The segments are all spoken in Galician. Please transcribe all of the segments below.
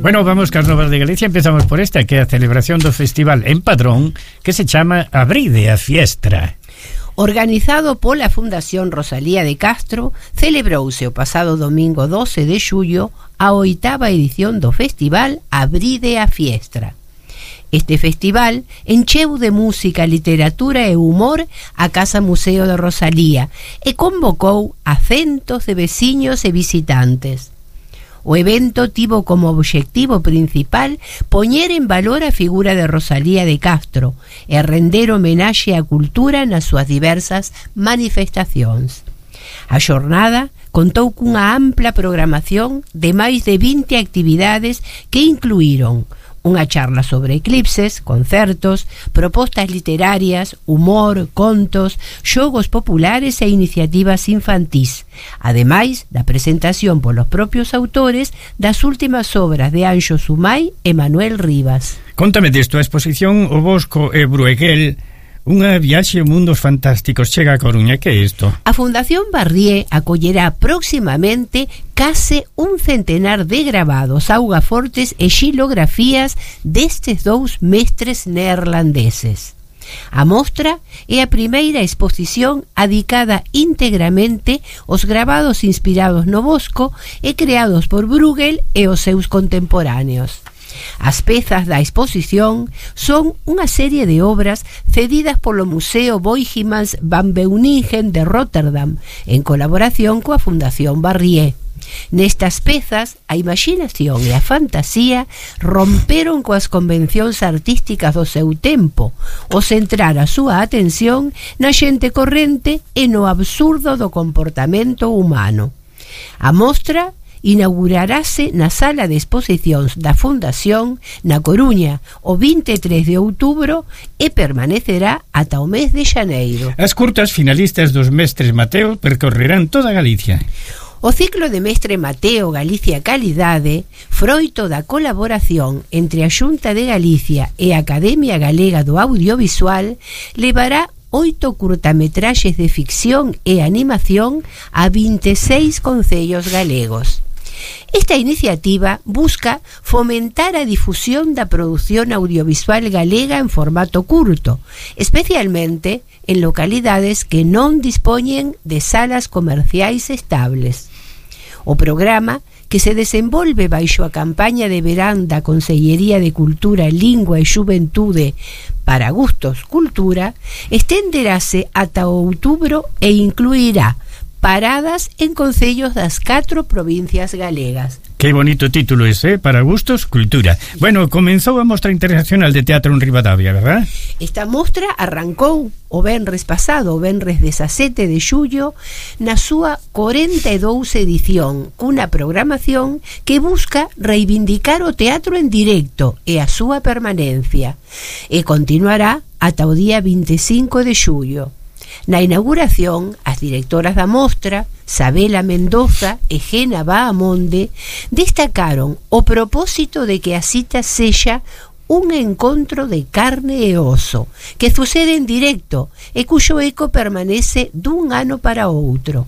Bueno, vamos cas novas de Galicia. Empezamos por esta, que é a celebración do festival en Padrón, que se chama Abride a Fiestra. Organizado pola Fundación Rosalía de Castro, celebrouse o pasado domingo 12 de xullo a 8ª edición do festival Abride a Fiestra. Este festival encheu de música, literatura e humor a Casa Museo de Rosalía e convocou a centos de veciños e visitantes. O evento tivo como obxectivo principal poñer en valor a figura de Rosalía de Castro e render homenaxe á cultura nas súas diversas manifestacións. A xornada contou cunha ampla programación de máis de 20 actividades que incluíron unha charla sobre eclipses, concertos, propostas literarias, humor, contos, xogos populares e iniciativas infantís, ademais da presentación polos propios autores das últimas obras de Anxo Sumai e Manuel Rivas. Contame desto, a exposición O Bosco e Brueguel, unha viaxe a mundos fantásticos, chega a Coruña. Que é isto? A Fundación Barrié acollerá próximamente case un centenar de gravados, augafortes e xilografías destes dous mestres neerlandeses. A mostra é a primeira exposición adicada íntegramente aos gravados inspirados no Bosco e creados por Bruegel e os seus contemporáneos. As pezas da exposición son unha serie de obras cedidas polo Museo Boijmans van Beuningen de Rotterdam en colaboración coa Fundación Barrié. Nestas pezas, a imaginación e a fantasía romperon coas convencións artísticas do seu tempo, ao centrar a súa atención na xente corrente e no absurdo do comportamento humano. A mostra inaugurarase na sala de exposicións da Fundación na Coruña o 23 de outubro e permanecerá ata o mes de xaneiro. As curtas finalistas dos Mestres Mateo percorrerán toda Galicia. O ciclo de Mestre Mateo Galicia Calidade, froito da colaboración entre a Xunta de Galicia e a Academia Galega do Audiovisual, levará 8 curtametraxes de ficción e animación a 26 concellos galegos. Esta iniciativa busca fomentar a difusión da produción audiovisual galega en formato curto, especialmente en localidades que non dispoñen de salas comerciais estables. O programa, que se desenvolve baixo a campaña de verán da Consellería de Cultura, Lingua e Xuventude para Gustos Cultura, estenderase ata outubro e incluirá paradas en concellos das 4 provincias galegas. Que bonito título ese, Para Gustos Cultura. Bueno, comenzou a Mostra Internacional de Teatro en Ribadavia, verdad? Esta mostra arrancou o venres pasado, o venres 17 de xullo, na súa 42 edición, cunha programación que busca reivindicar o teatro en directo e a súa permanencia, e continuará ata o día 25 de xullo. Na inauguración, as directoras da mostra, Sabela Mendoza e Gena Bahamonde, destacaron o propósito de que a cita sexa un encontro de carne e oso, que sucede en directo e cuxo eco permanece dun ano para outro.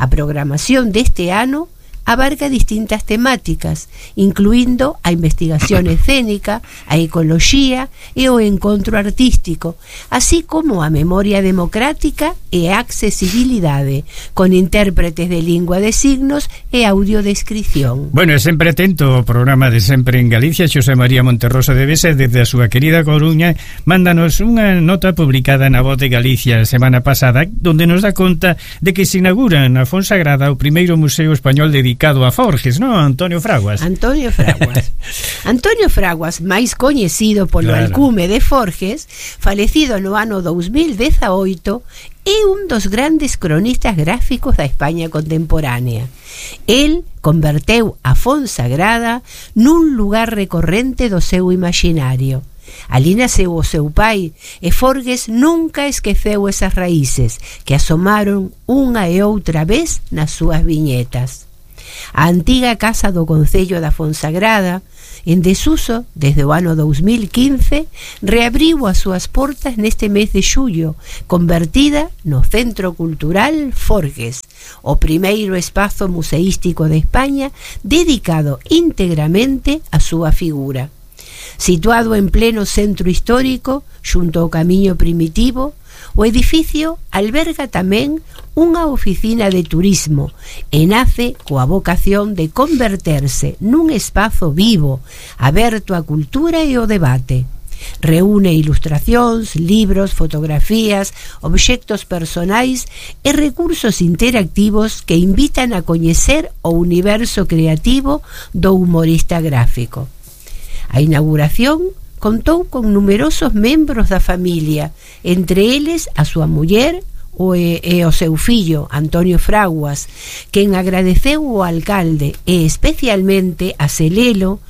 A programación deste ano abarca distintas temáticas, incluindo a investigación escénica, a ecoloxía e o encontro artístico, así como a memoria democrática e a accesibilidade, con intérpretes de lingua de signos e audiodescripción. Bueno, sempre atento ao programa de Sempre en Galicia. Xosé María Monterroso de Besa, desde a súa querida Coruña, mándanos unha nota publicada na Voz de Galicia a semana pasada, donde nos dá conta de que se inaugura na Fonsagrada o primeiro museo español dedicado a Forges, non, Antonio Fraguas? Antonio Fraguas. Antonio Fraguas, máis coñecido polo alcume de Forges, falecido no ano 2018, é un dos grandes cronistas gráficos da España contemporánea. El converteu a Fonsagrada nun lugar recorrente do seu imaginario. Alí naceu o seu pai e Forges nunca esqueceu esas raíces que asomaron unha e outra vez nas súas viñetas. A antiga casa do Concello da Fonsagrada, en desuso desde o ano 2015, reabriu as súas portas neste mes de xullo, convertida no Centro Cultural Forgues, o primeiro espazo museístico de España dedicado íntegramente á súa figura. Situado en pleno centro histórico, xunto ao camiño primitivo, o edificio alberga tamén unha oficina de turismo e nace coa vocación de converterse nun espazo vivo, aberto á cultura e ao debate. Reúne ilustracións, libros, fotografías, obxectos personais e recursos interactivos que invitan a coñecer o universo creativo do humorista gráfico. A inauguración contou con numerosos membros da familia, entre eles a súa muller e o seu fillo, Antonio Fraguas, quen agradeceu ao alcalde e especialmente a Celelo,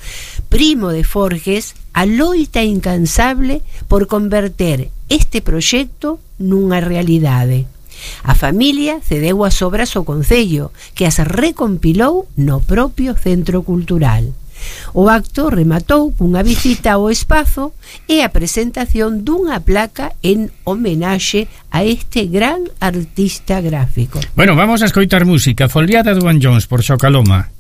primo de Forgues, a loita incansable por converter este proxecto nunha realidade. A familia cedeu as obras ao Concello, que as recompilou no propio Centro Cultural. O acto rematou cunha visita ao espazo e a presentación dunha placa en homenaxe a este gran artista gráfico. Bueno, vamos a escoitar música, Foliada do Jones por Xocaloma.